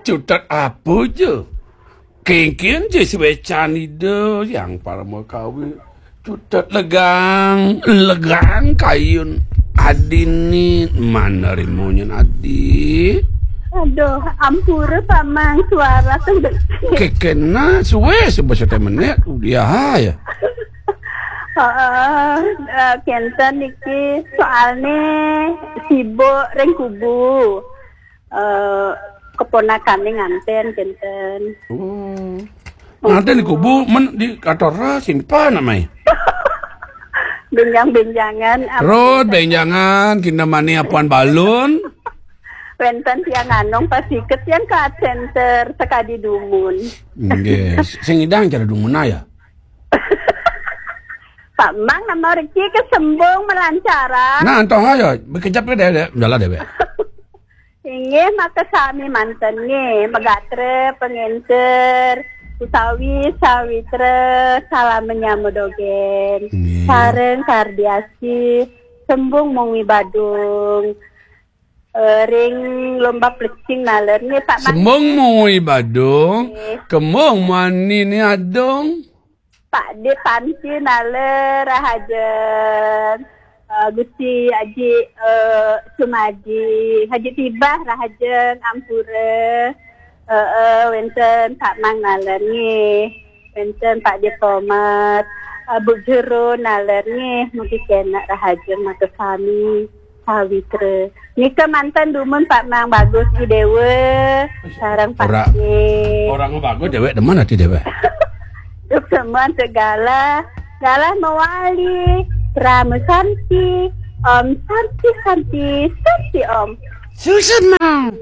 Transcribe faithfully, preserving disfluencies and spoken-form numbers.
Cutet apa ja? Kéngkén ja suécan Ida Hyang Parama Kawi. Cutet legang, legang kayun adini, mana rimunyin adi. Aduh, ampura Pak Mang, suara tuh. Kékéna sué sebesate menit, udah ya. Heeh, eh, kénten niki soalné sibuk ring kubu. Eh, keponakané nganten, kénten. Oh. Nganten di kubu, men di kantor simpan namanya. Bénjang-bénjangan, apa Rod, kénten? Bénjangan, kinamani apuan balun. Wénten tiang nganong pas siket tiang ke center sekadi dumun. Nggih, sing idang cara dumun ya. Pak Mang nama reki ke sembung melancaran. Nah, antoh ya, bekejap ke deh, deh. Jalan deh, Bek. Inggih, makasami manten nggih, megatra, pengenter, usawi, sawitra, salam menyama dogen. Nggih. Sareng kardiasi, sembung mung wibadung. Eh, ring lomba plecing naler nggih, Pak Mang. Sembung mung wibadung, nggih. Kembung mani ni adung. Pak Dé Panci naler rahajeng. Eh, Gusti Aji, eh, Sumadi, Haji Tibah rahajeng, ampura. Eh, eh, wénten Pak Mang naler nggih. Wénten Pak Dé Pomat, eh, Bu Jero naler nggih. Mugi kénak rahajeng makasami. Sawitra. Nika manten dumun Pak Mang Bagus I Déwa sareng Pak Ora. Dé. Orang bagus déwék demen ati déwék. Dumun segala, galah mewali, Parama Santi, Om Santi, Santi, Santi Om. Susun, Mang.